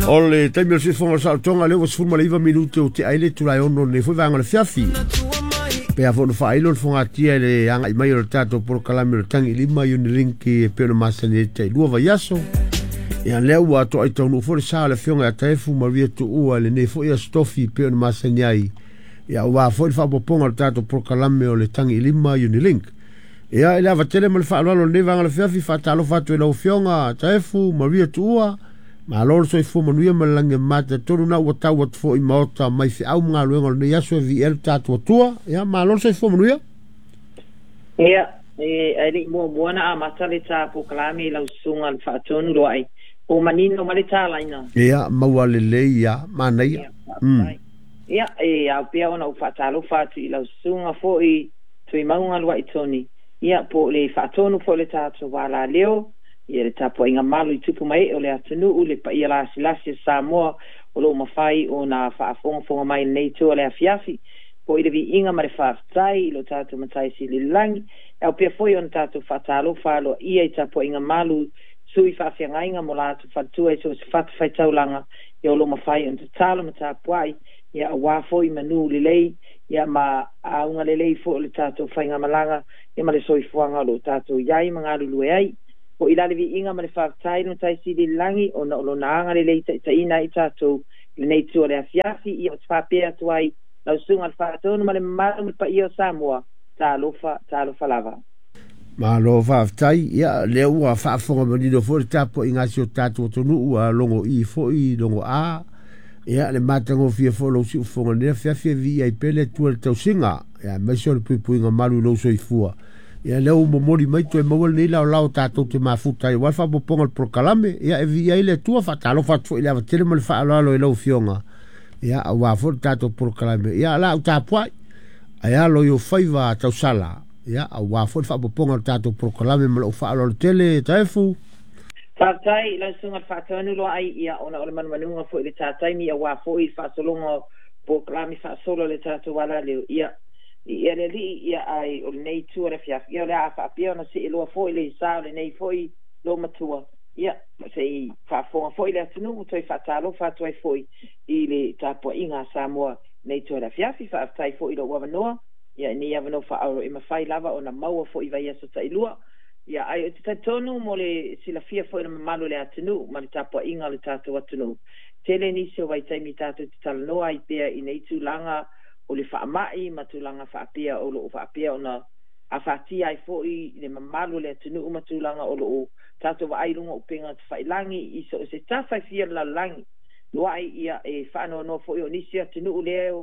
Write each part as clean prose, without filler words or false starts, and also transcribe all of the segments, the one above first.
O le taimi o le siufofoga o le saolotoga lea ua 19 minute o tea ai le itula e 6 o lenei foi vaega o le afiafi. Pe a foi ona faailo le fogatia i le agai mai o le tatou polokalame o le Tagi Lima Unilink e pei ona masani ai tai 2 vaiaso. Ia lea ua toai taunuu foi le sa o le afioga ia Taefu Maria Tuua i lenei foi aso tofi e pei ona masani ai. Ia aua foi le faaopoopoga o le tatou polokalame o le Tagi Lima Unilink. Ia i le ava tele ma le faaaloalo o lenei vaega o le afiafi, faatalofa atu i lau afioga Taefu Maria Tuua. Malo le soifua manuia ma le lagi e mama talitonu na ua tau atu foi i maota mai feau ma galuega o lenei aso e viia ai lo tatou Atua. Ia malo le soifua manuia. Ia, e ae le i muamua ona amata le ta polokalame i lau susuga le Faatonu Loai, po o manino mai le talaina. Ia, maua lelei ia, manaia. Ia, faafetai. Ia, e ao pea ona ou faatalofa atu i lau susuga foi Tuimauga Luai Toni, ia, po o le faatonu foi o le tatou alaleo, ia, le tapuaiga malu i tupu ma ee o le atunuu, le paia lasilasi o Samoa o lo o mafai ona faafogafoga mai i lenei itu o le afiafi. Po i le viiga ma le faafetai i lo tatou Matai Sili i le Lagi, e ao pea foi ona tatou faatalofa aloaia i tapuaiga malu sui faafeagaiga mo latou faletua i so o se fatafaitaulaga, ia o lo o mafai ona tatalo ma tapuai, ia aua foi manu lelei, ia ma auga lelei foi o le tatou faigamalaga, ia ma le soifuaga o lo o tatou i ai ma galulue ai. Foi la le viiga ma le faafetai i le Matai Sili i le Lagi ona o Lona agalelei taitaiina ai tatou i lenei itu o le afiafi, ia ou te faapea atu ai lau Susuga i le Faatonu ma le mamalu ma le paia o Samoa, talofa, talofa lava. Malo faafetai. Ia, lea ua faafofoga manino foi le tapuaiga a si o tatou atunuu, ua logo i foi, logo a. Ia, le matagofie foi o lou siufofoga i lenei afiafi e viia ai pea le Atua i le tausiga, ia, aemaise o le puipuiga malu i lou soifua. Ia, lea ua momoli mai toe maua lenei laolao tatou te mafuta ai aua le faaopoopoga o le polokalame. Ia, e viia ai le Atua, faatalofa atu foi i le ava tele ma le faaaloalo i lau Afioga, ia, aua foi le tatou polokalame. Ia, o le a ou tapuai, ae alo i ou faiva tausala, ia, aua foi le faaopoopoga o le tatou polokalame ma lou faaaloalo tele, Taefu. Faafetai i lau Susuga i le Faatonu Loai, ia, ona o le manumanuga foi i le ta taimi aua foi le faasologa o polokalame faasolo a le tatou alaleo, ia, i le Alii, ia, ae o lenei itu o le afiafi, ia, o le a faapea ona see loa foi le sa o lenei foi loomatua, ia, se i faafofoga foi le atunuu, toe faatalofa atu ai foi i le tapuaiga a Samoa i lenei itu o le afiafi. Faafetai foi i lou avanoa, ia, i nei avanoa faaauau e mafai lava ona maua foi i vaiaso tailua. Ia, ae ou te talitonu mo le silafia foi e le mamalu o le atunuu ma le tapuaiga o le tatou atunuu, tele nisi o vaitaimi tatou te talanoa ai pea i nei tulaga o le faamai ma tulaga faapea o lo o faapea ona afatia ai foi le mamalu o le atunuu ma tulaga o lo o tatou vaai i luga o upega tafailagi i so o se tafa e fia o le lalolagi. Luai, ia, e faanoanoa foi o nisi atunuu lea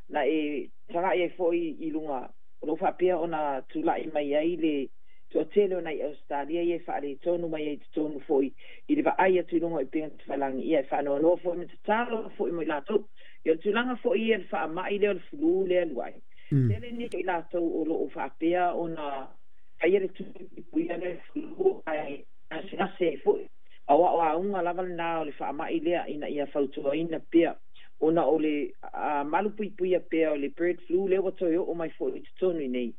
na e tagai ai foi i luga o lo o faapea ona tulai mai ai le toatele o nai Ausetalia ia e faaletonu mai ai i totonu foi i le vaai atu i luga o upega tafailagi, ia e faanoanoa foi ma tatalo foi mo i latou. Ia o le tulaga foi ia i le faamai lea o le flu lea luai, tele nisi o i latou o lo o faapea ona faia le tui puipuia lea i le flu ae gasegase ai foi. Aua o auga lava lena o le faamai lea ina ia fautuaina pea ona o le malupuipuia pea o le bird flu lea ua toe oo mai foi i totonu i nei.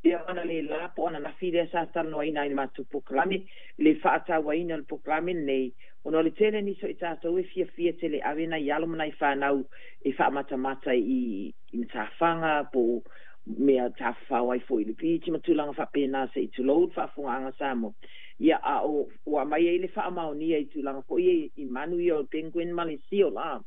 Pea o analeila po o ananafi lea sa talanoaina ai i le matou polokalame, le faatauaina o le polokalame lenei, ona o le tele nisi o i tatou e fiafia tele e ave nai alo ma nai fanau e faamatamata i matafaga po o mea tafafao ai foi i le beach ma tulaga faapena se i tulou le faafofogaaga Samoa. Ia, a o ua aumai ai le faamaonia i tulaga foi ia i manu ia o le penguin ma le seal, a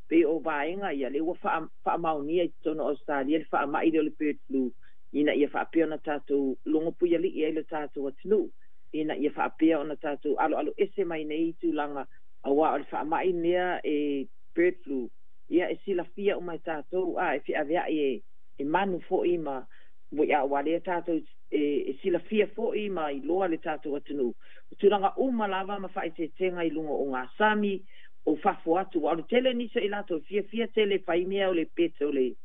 pei o vaega ia lea ua faamaonia i totonu o Ausetalia le faamai lea o le bird flu ina ia faapea ona tatou logopuialii ai le tatou atunuu ina ia faapea ona tatou aloaloese mai nei tulaga aua o le faamai lea e bird flu, ia e silafia uma e tatou a e feaveai e manu foi ma a ua lea tatou e silafia foi ma iloa le tatou atunuu o tulaga uma lava ma faaeteetega i luga o gasami o fafo atu aua o le tele nisi o i latou fiafia tele fai mea o le pet o le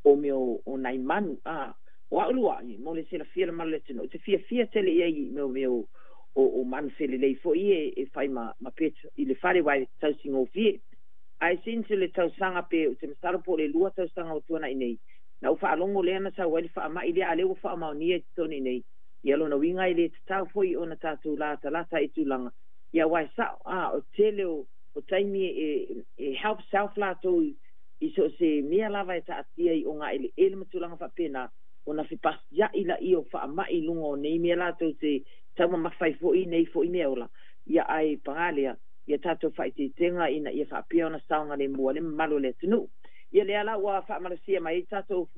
o mea o nai manu a o au luai mo le silafia le malu le atunuu te fiafia tele i ai i mea o manu felelei foi e fai ma pet i le fale aua e tausigofie. Ae since le tausaga pe ou te masalo po o le 2 tausaga o tuanai nei, na ou faalogo lea na sau ai le faamai lea, a lea ua faamaonia i totonu i nei, ia lona uiga e le tatau foi ona tatou latalata i tulaga, ia aua e sao, a o tele o taimi e help self latou i so o se mea lava e taatia i ogaeleele ma tulaga faapena, ona fepasia'i laia o faama'i i luga o nei mea latou te taumamafa ai fo'i i nei fo'i mea ola. Ia ae pagā lea, ia tatou faaeteetega ina ia faapea ona saogalemu ai le mamalu o le atunuu. Ia lea la ua faamalosia mai ai tatou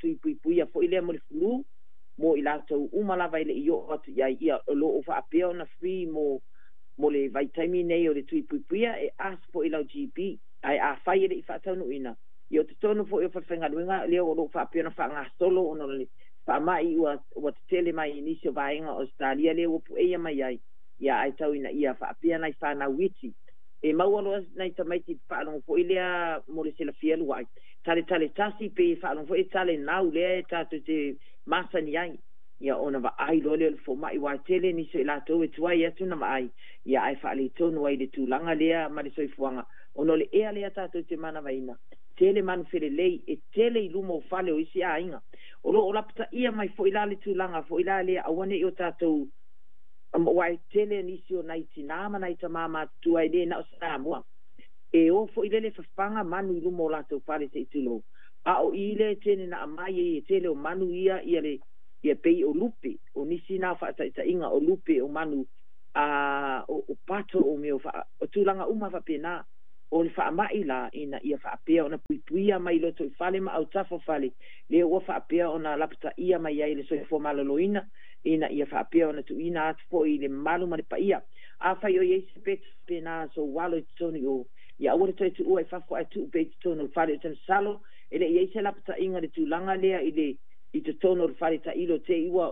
tui puipuia foi lea mo le flu mo i latou uma lava e le i oo atu i ai, ia o lo o faapea ona free mo le vaitaimi nei o le tui puipuia, e ask foi i lau GP. Ae afai e le i faataunuuina, ia o totonu foi o falefaigaluega lea o lo o faapea ona faagasolo ona o le faama'i ua tetele mai i nisi o vaega o Ausetalia lea ua pueia mai ai, ia ae tau ina ia faapea nai fanau iti. E maua loa nai tamaiti faalogo foi lea mo le silafia lua'i, taletale tasi pe faalogo foi e tale nau lea e tatou te masani ai, ia ona vaai loa lea o le foma'i, aua e tele nisi o i latou e tuai atu na vaai, ia ae faaletonu ai le tulaga lea ma le soifuaga, ona o le ea lea tatou te manavaina, tele manu felelei, e tele i luma o fale o isi aiga. O lo o lapataia mai foi la le tulaga foi la lea aua ne i o tatou, aua e tele nisi o nai tinā ma nai tamā matutua e le na o Samoa, e o foi lele fafaga manu i luma o latou fale se i tulou. A o i lea e tele na aumai ai e tele o manu ia ia le ia pei o lupe, o nisi na o faataitaiga o lupe o manu a o pato o mea o tulaga uma faapena. O le faama'i la ina ia faapea ona puipuia mai loto i fale ma autafa o fale, lea ua faapea ona lapataia mai ai le soifua maloloina ina ia faapea ona tuuina atu foi i le mamalu ma le paia. Afai o i ai se peto faapena soualo i totonu i o, ia aua le toe tuua i fafo ae tuu pea i totonu o le fale. Ou te masalo e le i ai se lapataiga i le tulaga lea i le i totonu o le fale tailo te i ua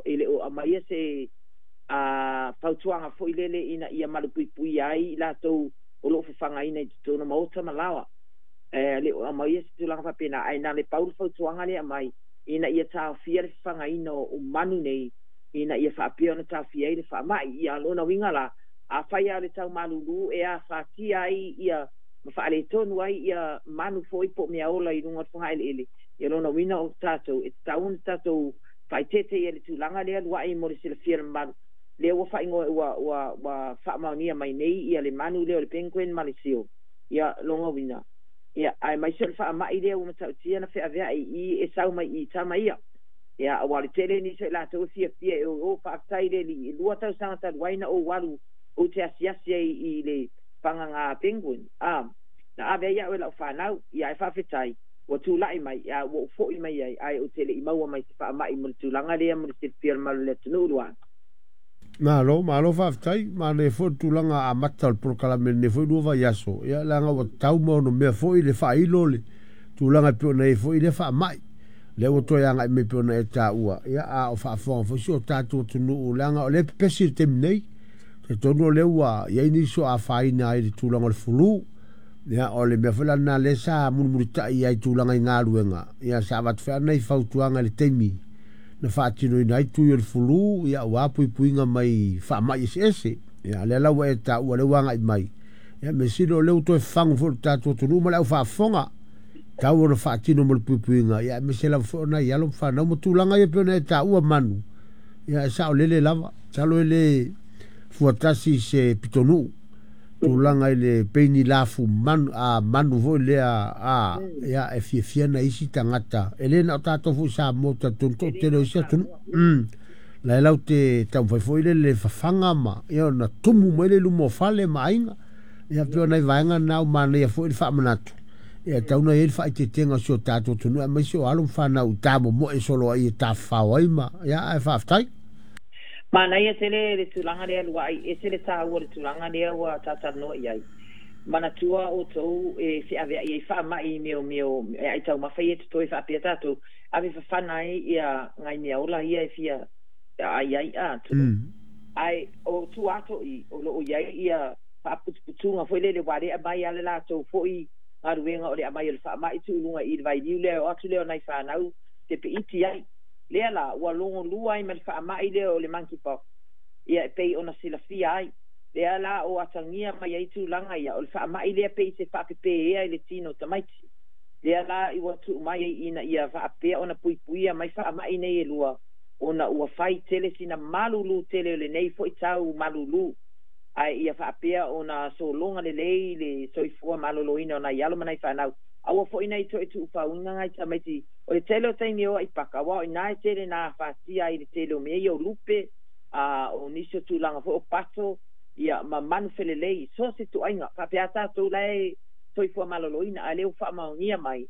e le o aumaia se fautuaga foi lele ina ia malupuipuia ai i latou o lo o fafagaina i totonu o maota ma laoa. E le o aumaia se tulaga faapena, ae na le pau le fautuaga lea aumai ina ia taofia le fafagaina o manu nei ina ia faapea ona taofia ai le faama'i. Ia lona uiga la, afai lava o le tau malulu e afatia ai ia ma faaletonu ai ia manu foi po o meaola i luga o le fogaeleele, ia lona uiga o tatou e tatau ona tatou faaeteete i le tulaga lea lua'i mo le silafia e le mamalu. Lea ua faaigoa ua faamaonia mai nei ia le manu lea o le penguin ma le seal. Ia lona uiga, ia aemaise o le faama'i lea ua matautia na feavea'i i e sau mai i tama ia. Ia aua o le tele nisi o i latou e fiafia e o faafetai le alii, e 2 tausaga talu ai na ou alu ou te asiasi ai i le fagaga penguin. Na ave ai au e lau fanau, ia ae faafetai ua tulai mai, ia ua ou foi mai ai, ae ou te le i maua mai se faama'i mo le tulaga lea mo le silafia o le mamalu o le atunuu lua'i. Malo, malo faafetai, manaia foi le tulaga amata o le polokalame i lenei foi 2 vaiaso, ia leaga ua tatau ma ono mea foi le faailo le tulaga e pei ona i ai foi lea faamai. Lea ua toe agai mai pei ona e taua, ia a o faafofoga foi si o tatou atunuu, leaga o lea e pepesi i le taimi nei. Talitonu o lea ua i ai nisi o afaina ai i le tulaga o le flu. Ia o le mea foi la lena lea sa mulimulitai ai i tulaga i galuega, ia sa avatu foi nai fautuaga i le taimi na faatinoina ai tui o le flu, ia aua puipuiga mai faamai eseese. Ia lea la ua e taua lea ua agai mai. Ia mea sili o lea ua toe fafagu foi le tatou atunuu ma le au faafofoga. Tau ona faatino mo le puipuiga, ia aemaise lava foi o nai alo ma fanau ma tulaga ia pei ona e taua manu. Ia e saolele lava, masalo e le fuatasi se pitonuu tulaga i le peini lafu manu, manu foi lea, ia e fiafia na isi tagata. E le na o tatou foi Samoa, talitonu toatele o isi atunuu. La e lau te taumafai foi le le fafaga ma ia ona tumu mai le luma o fale ma aiga. Ia pei o nai vaega na ua manaia foi le faamanatu. Ia tau na i ai le faaeteetega o si o tatou atunuu aemaise o alo ma fanau i tamomoe solo ai e tafafao ai ma ia ae faafetai. Manaia tele le tulaga lea lua'i, ese le taua o le tulaga lea ua tatalanoa i ai. Manatua outou e feavea'i ai faama'i i mea o mea o e ai taumafa ia e totoe faapea tatou, ave fafana ai ia nai meaola ia e fia ai ai a tulou. Ae o tua atu i o lo o i ai ia faaputuputuga foi lele ua le aumai lava le latou foi galuega o le aumai o le faama'i tuuluga i le vailiu lea e o atu lea o nai fanau te peiti ai. Lea la ua logolua ai ma le faama'i lea o le monkeypox, ia e pei ona silafia ai. Lea la o atagia mai ai tulaga ia o le faama'i lea pei se faapepēa i le tino o tamaiti. Lea la i ua tuu mai ai ina ia faapea ona puipuia mai faama'i nei e lua, ona ua fai tele sina malulu tele o lenei foi tau malulu. Ae ia faapea ona sologa lelei le soifua maloloina o nai alo ma nai fanau. Aua foi nei toe tuufauina nai tamaiti o le tele o taimi o ai paka aua o ina e tele na afatia ai le tele o mea ia o lupe, a o nisi o tulaga foi o pato, ia ma manu felelei so se tuaiga faapea tatou la e soifua maloloina, ae lea ua faamaonia mai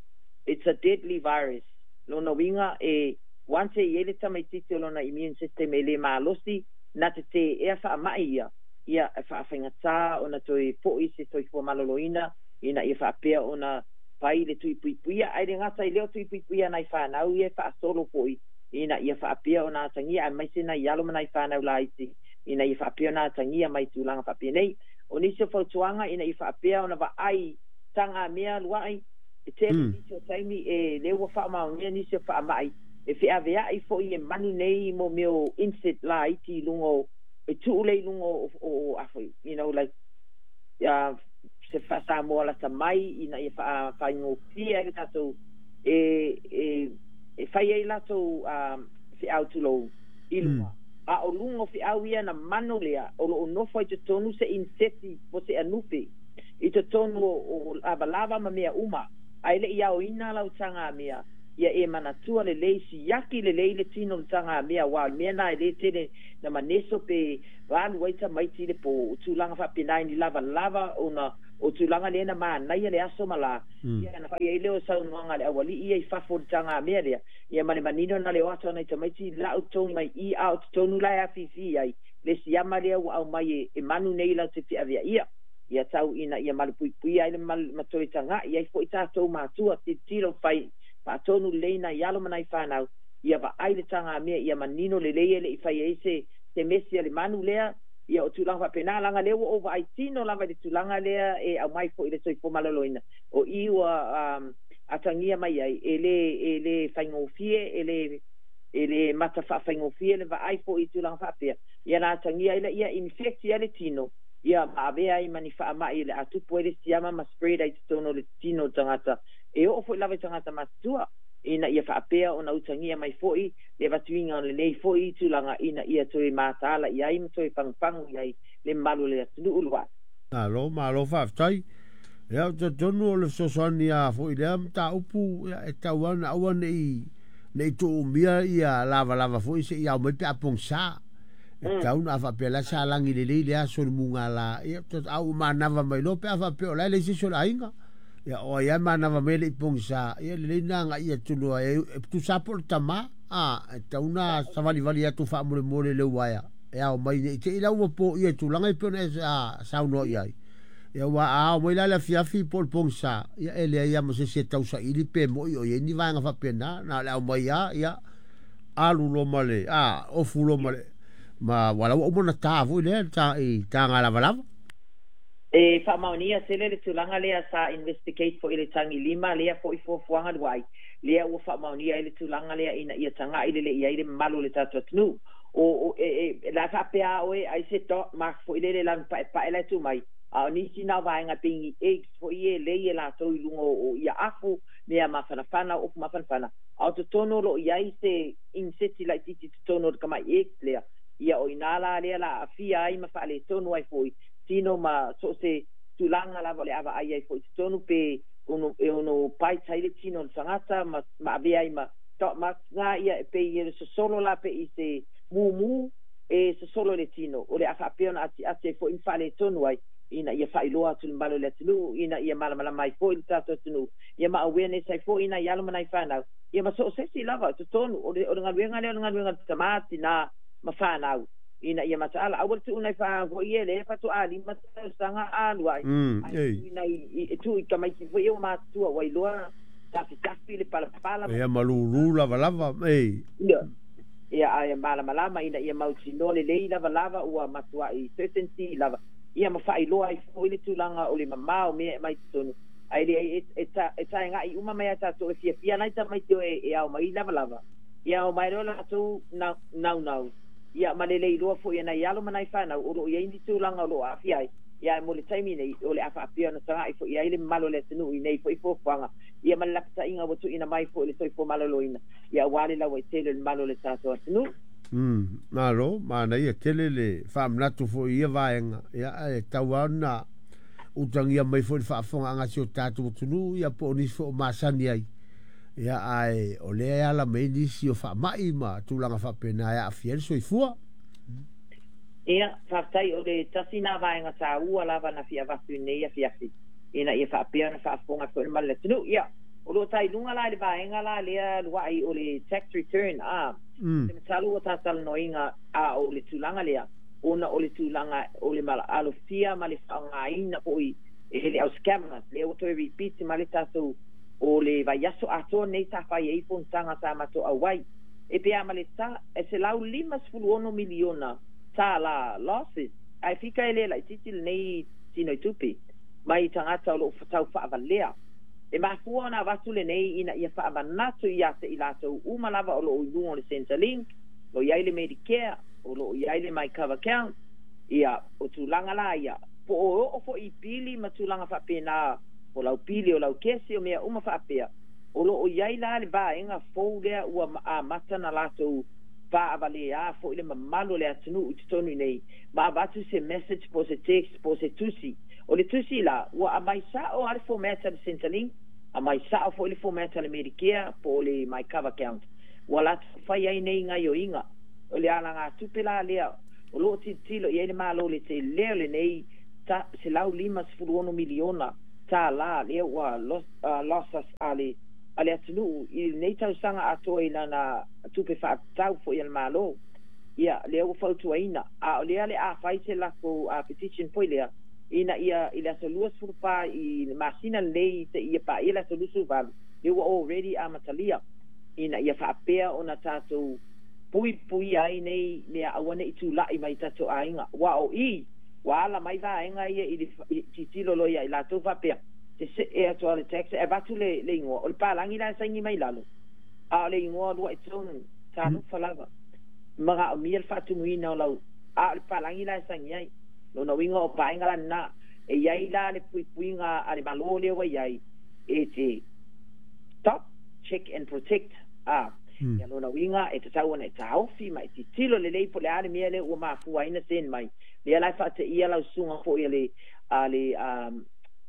it's a deadly virus. Lona uiga e once e i ai le tamaititi o lona immune system e lē malosi na te teea faama'i ia, ia e faafaigata ona toe fo'i se soifua maloloina ina ia faapea ona fai le tuipuipuia. Ae le gata i lea o tuipuipuia nai fanau ia e faasolo fo'i ina ia faapea ona atagia aemaise nai alo ma nai fanau laiti ina ia faapea ona atagia mai tulaga faapenei. O nisi o fautuaga ina ia faapea ona vaai tagamea lua'i e tele nisi o taimi e lea ua faamaonia nisi o faama'i e feavea'i fo'i e manu nei mo mea o insect laiti i luga o e tuu lea i luga o afoi, like se faasamoa lata mai ina ia faafaigofie ai le tatou e fai ai latou feau tulou i luga. A o luga o feau ia na manu lea o loo nofo ai totonu se inseti po se anupe i totonu o lavalava ma mea uma. Ae le'i aoina lau tagamea, ia e manatua lelei siaki lelei le tino o le tagamea, auā o le mea na e lē tele na maneso pe alu ai tamaiti le po o tulaga faapena i ni lavalava ona o tulaga lea na manaia le aso ma lā. Ia na fai ai lea o saunoaga a le aualii ia i fafo o le tagamea lea, ia ma le manino na le o atu ana i tamaiti la'u togi mai i a o totonu la e afifi ai le siama lea ua aumai e manu nei lau te feaveaia. Ia tau ina ia malupuipuia ai le ma toe taga'i ai fo'i tatou matua tilotilo fai faatonu lelei nai alo ma nai fanau ia vaai le tagamea ia manino lelei e le'i fai ai se mesi a le manu lea. Ia o tulaga faapena laga lea ua ou vaai tino lava i le tulaga lea e aumai fo'i le soifua maloloina o i ua atagia mai ai e lē faigofie e lē mata faafaigofie le vaai fo'i i tulaga faapea. Ia na atagia ai laia infect ai le tino ia ma avea ai ma ni faama'i le atupu ai le siama ma spread ai totonu o le tino o tagata e oo fo'i lava i tagata matutua ina ia faapea ona utagia mai fo'i le avatuina o lenei fo'i tulaga ina ia toe mataala i ai ma toe pagupagu i ai le mamalu o le atunuu lua'i. Malo, malo faafetai. Ia, talitonu o le fesoasoani a fo'i lea mataupu ia, e tau ana aua nei tuumia ia lavalava foi se'i ao mai pe a pogisa. E tau na a faapea la sa lagi lelei le aso le mugala ia au manava mai loa pe a faapea o la e leai se isi o le aiga. Ia o ai a manava mai le'i pogisa ia lelei na aga'i atu loa e tusa po o le tamā a e tau na savalivali atu faamolemole le uaea e ao mai nei te i lau ua po'ia i tulaga e pei ona e saunoa i ai. Ia ua a ao mai la le afiafi po o le pogisa ia e leai a ma se isi e tausaili pe mo'i o i ai ni vaega faapena na o le aumai a ia alu loa ma le a ofu loa ma le ma ua la ua uma ona tā foi lea ta i taga lavalava. E faamaonia tele le tulaga lea sa investigate fo'i le tagi lima lea fo'i fuafuaga luai lea ua faamaonia ai le tulaga lea ina ia taga'i lelei ai le mamalu o le tatou atunuu o e la faapea oe ai se dot mark fo'i lele lanu pa'epa'e la e tuu mai a o nisi na o vaega pei ni eggs fo'i e lei e latou i luga o ia afu mea mafanafana o ofu mafanafana a o totonu o loo i ai se inseti laitiiti totonu o le tama'i eggs lea. Ia o inā la lea la aafia ai ma faaletonu ai fo'i tino ma so o se tulaga lava o le avaai ai fo'i totonu pe ono e ono bite ai le tino o le tagata ma avea ai ma dot marks ga ia e pei e sosolo la pe i se mumu e sosolo i le tino o le a faapea ona atiati ai fo'i ma faaletonu ai ina ia faailoa atu le mamalu o le atunuu ina ia malamalama ai fo'i le tatou atunuu ia ma awareness ai fo'i nai alo ma nai fanau ia ma so o se isi lava totonu o le galuega lea o le galuega le tamā tinā ma fanau ina ia mataala aua le tuu nai fo'i e le faatoa 5 tausaga alu ai ae nai e tuu i tamaiti fo'i ua matutua ua iloa tafitafi le palapala. Ia malūlū lavalava ei. Ia ae malamalama ina ia mautinoa lelei lavalava ua matua'i certainty lava ia ma faailoa ai fo'i le tulaga o le mamao mea e mai totonu ae le e taega'i uma mai a tatou e fiafia nai tamaiti o e ao mai lavalava ia ao mai loa latou naunau ia ma lelei loa fo'i e nai alo ma nai fanau o loo i ai ni tulaga o loo aafia ai. Ia mo le taimi nei o le a faapea ona taga'i fo'i ai le mamalu o le atunuu i nei fo'i fuafuaga ia ma le lapataiga ua tuuina mai fo'i le soifua maloloina ia auā le lauaitele o le mamalu o le tatou atunuu. Malo, manaia tele le faamanatu foi i ia vaega, ia ae tatau lava ona utagia mai foi le faafofogaaga a si o tatou atunuu, ia po o nisi foi o masani ai, ia ae o lea e ala mai ai nisi o faamai ma tulaga faapena e aafia ai le soifua. Ia, faafetai o le tasi na vaega taua lava na fia avatu i lenei afiafi, ina ia faapea ona faafofoga foi le mamalu o le atunuu. Ia, o lo o tai luga la i le vaega la lea luai o le tax return, a, te masalo ua tatalanoaina a o le tulaga lea, ona o le tulaga o le alofia ma le faaaogaina foi e le au scammers, lea ua toe repeat ma le tatou o le vaiaso atoa nei sa fai ai fonotaga sa matou auai. E pe a ma le ta, e $156 miliona tā losses, ae fika e le laititi lenei tino i tupe, mai tagata o loo tau faavalea. E mafua ona avatu lenei ina ia faamanatu ia te i latou uma lava o loo i luga o le Centrelink, o i ai le Medicare, o loo i ai le MyCover Account, ia o tulaga la ia, po o oo foi i pili ma tulaga faapena o lau pili o lau kesi o mea uma faapea, o loo i ai la le vaega fou lea ua amata na latou faavalea foi le mamalu o le atunuu i totonu i nei, ma avatu se message po o se text po o se tusi. O le tusi la, ua aumai sao lava le format a le Centrelink, aumai sao foi le format a le Medicare po o le MyCover Account. Ua latou fai ai nei gaioiga. O le alagatupe la lea o loo tilotilo i ai le Malo i le tele o lenei $156 miliona tā lea ua losses a le atunuu i lenei tausaga atoa i lana tupe faatatau foi a le Malo. Ia, lea ua fautuaina. A o lea le a fai se latou petition foi lea, ina ia i le aso 24 i le masina lenei te ia paia le aso 28, lea ua already amatalia, ina ia faapea ona tatou puipuia ai nei mea aua ne i tulai mai tatou aiga. Ua o i, ua ala mai vaega ia i le tilotilo loa ia i latou faapea, te see atu a le tax, e avatu le igoa, o le palagi la e saini mai lalo, a o le igoa lua i tonu, talofa lava, manaomia le faatumuina o lau, a o le palagi la e saini ai. Lona uiga o vaega la lena, e iai la le puipuiga a le Malo lea ua iai, e te stop, check and protect. A, ia lona uiga e tatau ona e taofi ma e tilotilo lelei po o le a le mea lea ua mafua ai na send mai. Lea la e faateia lau susuga foi a le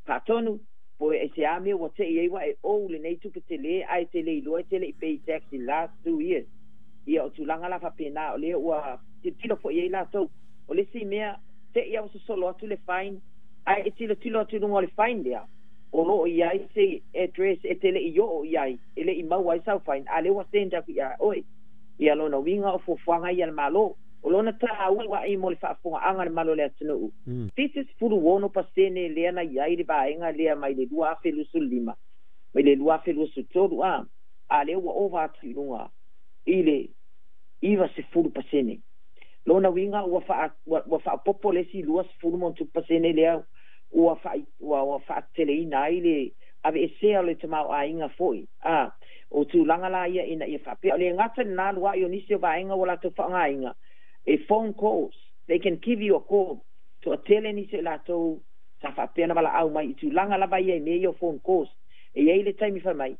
faatonu, po e se a mea ua tei ai ua e ou lenei tupe tele, ae te le iloa e te le i pay tax in last 2 years. Ia o tulaga la faapena o lea ua tilotilo foi ai latou. O le isi mea, tei au sosolo atu le fine, ae e tilotilo atu i luga o le fine lea, o loo i ai se address e te le i oo i ai, e le i maua ai sau fine, a lea ua send atu ia oe. Ia lona uiga o fuafuaga ia a le Malo. O lona taua ai mo le faafofogaaga a le mamalu o le atunuu. 76% lea na i ai le vaega lea mai le 2025 mai le 2023, a lea ua ova atu i luga i le 90%. Lona uiga ua faaopoopo le isi 20% lea ua faateleina ai le aveesea o le tamaoaiga foi. A, o tulaga la ia ina ia faapea. O le gata lena luai o nisi o vaega ua latou faaaogaina, e phone calls, they can give you a call. Toatele nisi o latou sa faapea na valaau mai i tulaga lava ia i mea ia o phone calls. E i ai le taimi fai mai,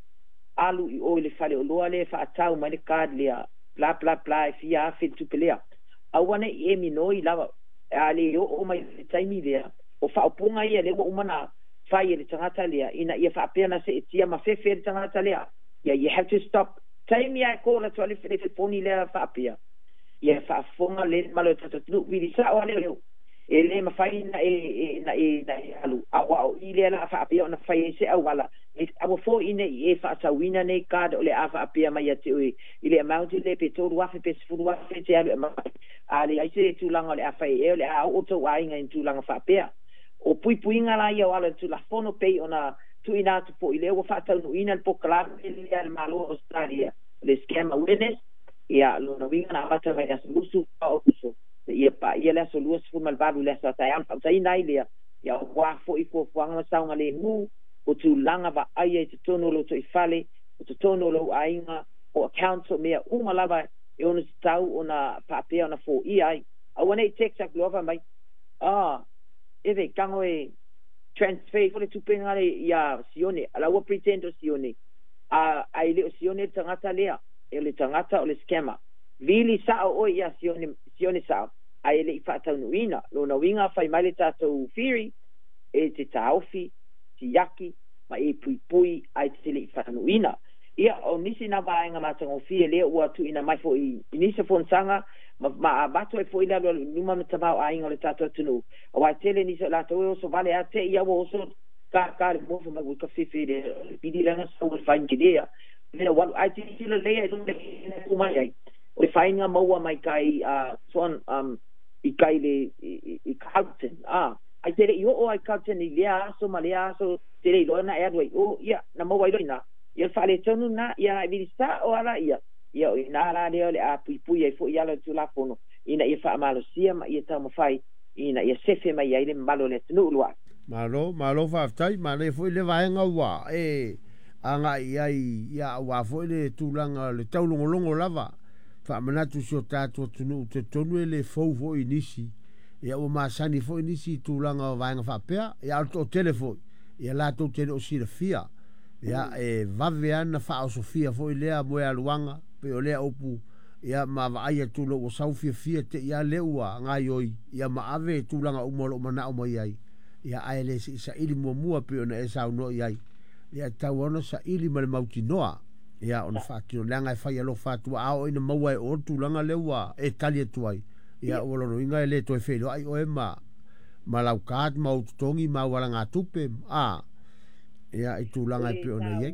alu i o i le fale oloa lea e faatau mai le card lea, bla bla bla, e fia afe le tupe lea. Aua ne i e minoi lava, a le oo mai le taimi lea, o faaupuga ia lea ua uma na fai e le tagata lea, ina ia faapea na seetia ma fefe le tagata lea. Ia, you have to stop. Taimi ae call atu a le telefoni lea faapea. Ia faafofoga le mamalu o le tatou atunuu, vili sao lava lea, e le mafai na e alu, a ua o i lea la faapea ona fai ai se auala, e aua foi ne i e faatauina nei card o le a faapea mai ia te oe i le amount le pe 3,000 pe 10,000 te alu e mai. A le ai se tulaga o le a fai e o le a oo tou aiga i tulaga faapea. O puipuiga la ia o ala o le Tulafono pei ona tuuina atu foi lea ua faataunuuina le polokalame lea a le Malo o Australia, le Scam Awareness, ia lona uiga na amata mai le aso 24 o Aokuso, ia paia le aso 28 i le aso a taeao, na faautaina ai lea, ia aua foi fuafuaga ma saogalemu, o tulaga vaaia i totonu o lou toifale, o totonu o lou aiga, o accounts o mea uma lava e ono tatau ona faapea ona foia ai. Aua ne i text atu loa fai mai, eve, tago e transfer ifo le tupe le ia Sione, ala ua pretend o Sione, a ai le o Sione le tagata lea, e le tagata o le scammer. Vili sa'o oe iā Sione, Sione sa'o, ae e le'i fa'ataunu'uina. Lona uiga fai mai le tatou theory, e te taofi, siaki, ma e puipui ae te le'i fa'ataunu'uina. Ia, o nisi na vaega matagofie lea ua tu'uina mai fo'i i nisi o fonotaga, ma ma avatu ai fo'i le alualu i luma ma tamaoaiga o le tatou atunuu, auā e tele nisi o latou e oso vale a te'i a ua oso kākā le moa fai mai ua ka fefe le pili lana sau le fain kelea mea ua alu ae tilotilo lelei ai i luga le tu mai ai o le faiga maua mai kai a soan i kai le i Carlton a ai te le i oo ai Carlton i lea aso ma lea aso te le iloa na e alu ai o ia na maua ai loa i ina ia le faaletonu lena ia e vili sao lava la ia ia o i ina la lea o le a puipui ai foi i ala o le Tulafono ina ia faamalosia ma ia taumafai ina ia sefe mai ai le mamalu o le atunuu Lua'i. Malo, malo faafetai, manaia foi lea vaega ua e agai i ai, ia aua foi le tulaga o le taulogologo lava. Faamanatu i si o tatou atunuu, talitonu e le fou foi i nisi, ia ua masani foi nisi i tulaga o vaega faapea, ia a o le toatele foi, ia latou te le o silafia. Ia e vave lava ona faaosofia foi lea moealuaga, pei o lea upu, ia ma vaai atu loa ua sau fiafia te i lava lea ua gaoioi, ia ma ave tulaga uma o lo o manao mai ai, ia ae le se i saili muamua pei ona e saunoa i ai. Ia e tatau lava ona saili ma le mautinoa, ia ona faatino, leaga e fai alofa atu, a oo ina maua e oe le tulaga lea ua e tali atu ai, ia ua lona uiga e le toe feiloai oe ma ma lau card ma ou totogi ma au alagatupe, a, ia i tulaga e pei ona i ai.